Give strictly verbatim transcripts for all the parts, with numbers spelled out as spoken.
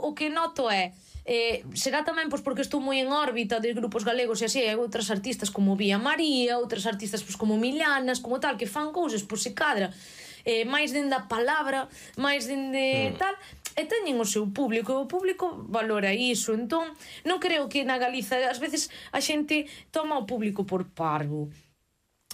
o que noto é Eh, será tamén pois, porque estou moi en órbita de grupos galegos e así, hai outras artistas como Vía María, outras artistas pois, como Milanas, como tal, que fan cousas, pois se cadra eh, máis dende a palabra, máis dende mm. tal, e teñen o seu público, e o público valora iso. Entón, non creo que na Galiza ás veces a xente toma o público por parvo.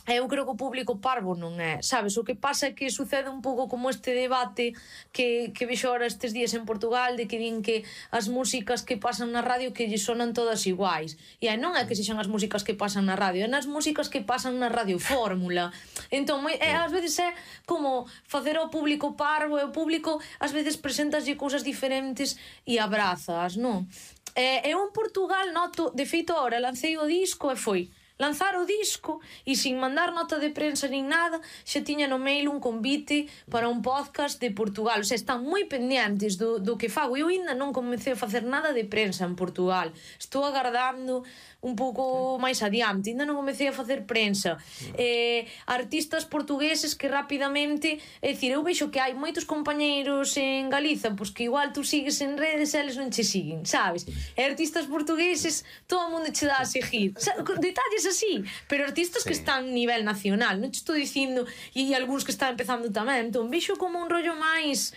Eu creo que o público parvo non é, sabes? O que pasa é que sucede un pouco como este debate que, que vexo ahora estes días en Portugal, de que din que as músicas que pasan na radio que lle sonan todas iguais. E aí non é que sexan as músicas que pasan na radio, é nas músicas que pasan na radio fórmula. Entón, é, ás veces é como facer ao público parvo, e o público ás veces presentaslle cousas diferentes e abrazas, non? E eu en Portugal noto, de feito ahora lancei o disco e foi lanzar o disco e sin mandar nota de prensa nin nada, xa tiña no mail un convite para un podcast de Portugal. O sea, están moi pendientes do, do que fago. Eu ainda non comecei a facer nada de prensa en Portugal. Estou agardando un pouco máis adiante, ainda non comecei a facer prensa. Eh, artistas portugueses que rapidamente, é dicir, eu vexo que hai moitos compañeiros en Galiza, pois que igual tú sigues en redes e eles non che siguen, sabes? E artistas portugueses, todo o mundo che dá a seguir. O sea, detalles así, pero artistas sí. que están a nivel nacional, non te estou dicindo, e, e algúns que están empezando tamén. Entón, vexo como un rollo máis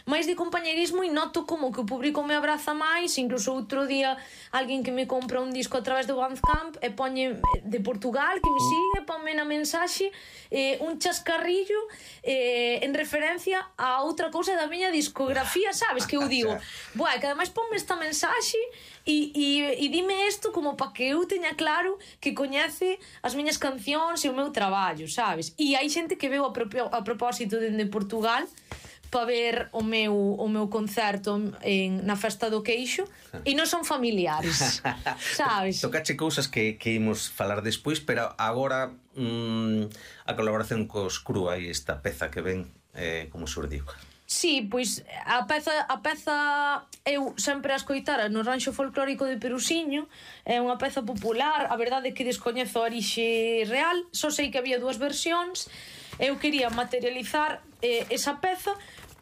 máis de compañerismo e noto como que o público me abraza máis. Incluso outro día alguén que me compra un disco a través do Bandcamp e poñe de Portugal, que me sigue, ponme na mensaxe eh, un chascarrillo eh, en referencia a outra cousa da miña discografía, sabes? Que eu digo, buah, que ademais ponme esta mensaxe e, e, e dime isto como para que eu teña claro que coñece as miñas cancións e o meu traballo, sabes? E hai xente que veo a, propio, a propósito dende Portugal para ver o meu, o meu concerto en, na Festa do Queixo e non son familiares, sabes? Tocache cousas que, que imos falar despois, pero agora mmm, a colaboración cos Crúa e esta peza que ven eh, como surdiu. Sí, pois a peza, a peza eu sempre a escoitara no ranxo folclórico de Perusiño. É unha peza popular, a verdade é que descoñezo a orixe real, só sei que había dúas versións. Eu quería materializar eh, esa peza,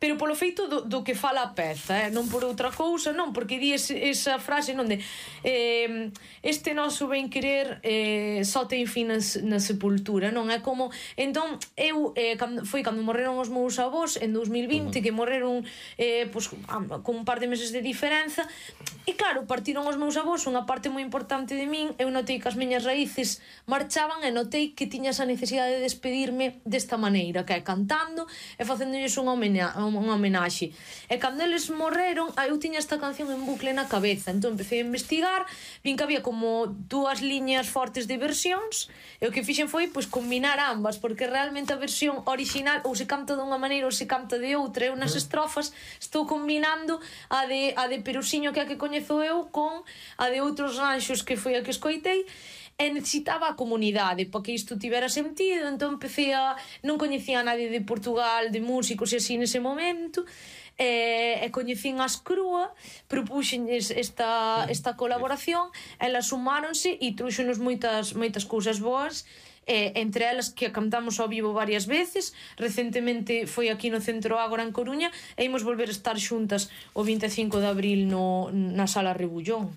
pero polo feito do, do que fala a peza, eh? Non por outra cousa, non, porque di ese, esa frase non de eh, este noso ben querer eh, só ten fin na, na sepultura, non? É como, entón, eu eh, cando, foi cando morreron os meus avós en dous mil vinte, uh-huh. que morreron eh, pues, con un par de meses de diferenza, e claro, partiron os meus avós, unha parte moi importante de min, eu notei que as miñas raíces marchaban e notei que tiña esa necesidade de despedirme desta maneira, que é cantando e facéndolles unha homenaxe unha homenaxe. E cando eles morreron, eu tiña esta canción en bucle na cabeza, entón empecé a investigar, vin que había como dúas liñas fortes de versións, e o que fixen foi pois combinar ambas, porque realmente a versión original ou se canta dunha maneira ou se canta de outra. Eu nas estrofas estou combinando a de, a de Perusiño, que é a que coñezo eu, con a de outros ranxos que foi a que escoitei, e necesitaba a comunidade para que isto tivera sentido. Entón empecé a... non coñecía a nadie de Portugal, de músicos e así nese momento, e, e coñecín as Crúa, propuxenlles esta, esta colaboración, elas sumáronse e trouxenos moitas, moitas cousas boas, e, entre elas que a cantamos ao vivo varias veces. Recentemente foi aquí no Centro Ágora en Coruña, e imos volver a estar xuntas o vinte e cinco de abril no, na Sala Rebullón.